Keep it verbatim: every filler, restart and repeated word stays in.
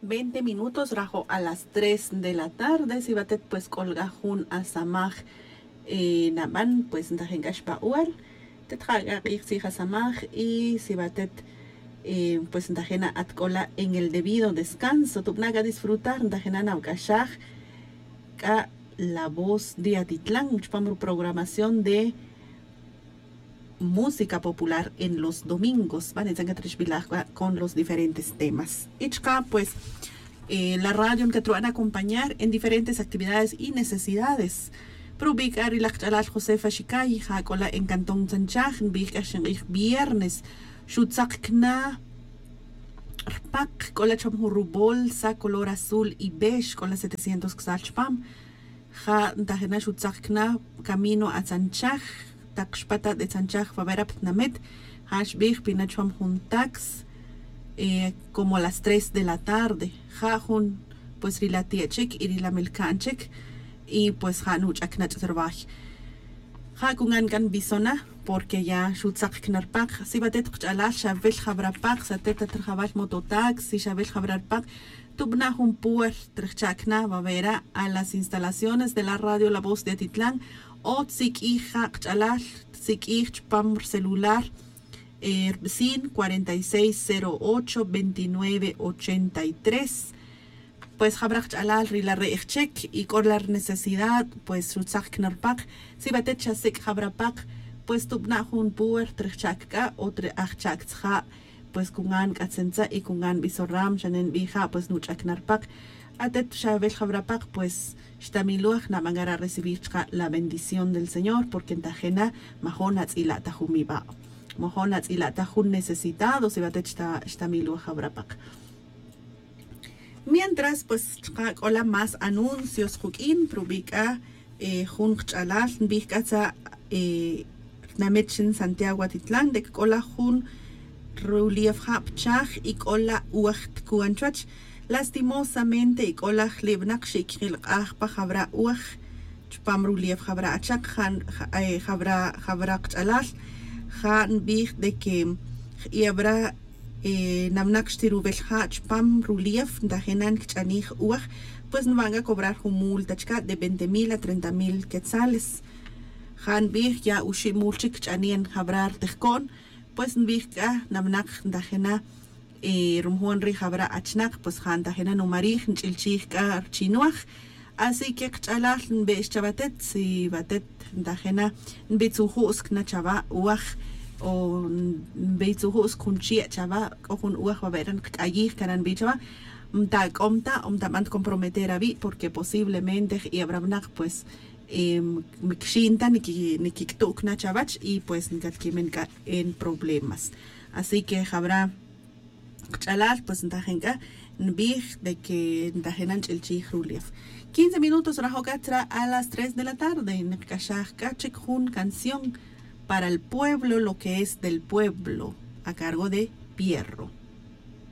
Veinte minutos rajo' a las tres de la tarde. Si batet pues k'ol k'a jun asamaj naban, pues ntajen k'a xba'ual. Tet ja' k'a q'ij tzij asamaj y si batet pues ntajena at k'ola en el debido descanso, tubna' k'a disfrutar, ntajena nawk'axaj k'a la voz de Atitlán chupam ruprogramación de música popular en los domingos. Banitzan katrixbilaj k'a con los diferentes temas y chka pues la radio nkatrub'an acompañar en diferentes actividades y necesidades. Pero ubi' k'a ri laj qach'alal Josefa Xicay, ja' k'ola en cantón Tzanchaj, nbij k'a xinq'ij viernes, xutzaq kna rpaq, k'ola chupam jun rubolsa color azul y beige, k'ola setecientos ksal chupam. Ja' ntajena xutzaq kna camino a Tzanchaj, taq xpata' de Tzanchaj wawera ptnamet. Ja' xbij pina chupam jun tax como las tres de la tarde. Ja' jun pues ri la tie' chik y ri la melka'n chik y pues ja' nuch'ak na ch'at rway. Ja' kungan k'a nbisona porque ya xutzaq kna rpaq. Si batet qach'alal xawel jawra paq, satet at rjawal mototaxi, xawel jawra rpaq, tubna' jun puerta rjcha'k na wawera a las instalaciones de la radio La Voz de Atitlán o tsik'ij ja' qach'alal, tsik'ij chupam rcelular rb'sin cuarenta y seis cero ocho veintinueve ochenta y tres. Pues jawra qach'alal ri la re'j chik y k'o la rnecesidad pues xutzaq kna rpaq. Si batet xasik' jawra paq, pues tubna' jun puerta rjcha'k k'a, otro ajcha'k tzja', pues kungan k'a tzentza' y kungan b'isoram, xane nb'ij ja' pues nuch'ak na rpaq. Atet xawel jawra paq pues xtamiloj, naban k'a ra recibir chka' la bendición del Señor porque ntajena majo' natz'ila' ta jun mib'a', majo' natz'ila' ta jun necesitado si batet xtamiloj jawra paq. Mientras pues chka' k'ola más anuncios quk'in, pero ubi' k'a jun qach'alal nbij k'a tza rtinamit xin Santiago Atitlán de que k'ola jun rulief ja' pchaj y k'ola uwaj tkuan chuwach. Lastimosamente y k'ola jlib'naq xikjilq'aj pa jawra uwaj chupam rulief jawra achak, jawra qach'alal. Ja' nbij de que j'i'awra namnaq xtiruwel ja' chupam rulief, ntajena nkch'anij uwaj, pues nb'an k'a cobrar jun multa chka' de veinte mil a treinta mil quetzales. Ja' nbij ya oxib' mul chik kch'anen jawra rtijko'n, pues nbij k'a namnaq ntajena rumojon ri jawra achnaq, pues ja' ntajena numarij, nch'ilchij k'a rchinwaj. Así que qach'alal nb'e'x chawatet, si watet ntajena nbitzuju'sk na chawa uwaj o nbitzuju'sk jun chie' chawa, k'o jun uwaj wawe' re' nkak'ayij, kara' nbij chawa, mtak'om ta o mtab'an ta comprometer awi', porque posiblemente j'i'ab' ra winaq pues mkixin ta nikik'tu'k na chawach y pues nkatkimen k'a en problemas. Así que jawra qach'alal pues ntajen k'a nbij de que ntajen na nch'ilchij rulief. Quince minutos rajo' k'a tzra a las tres de la tarde, nqak'axaj k'a chik jun canción para el pueblo, lo que es del pueblo, a cargo de Pierro.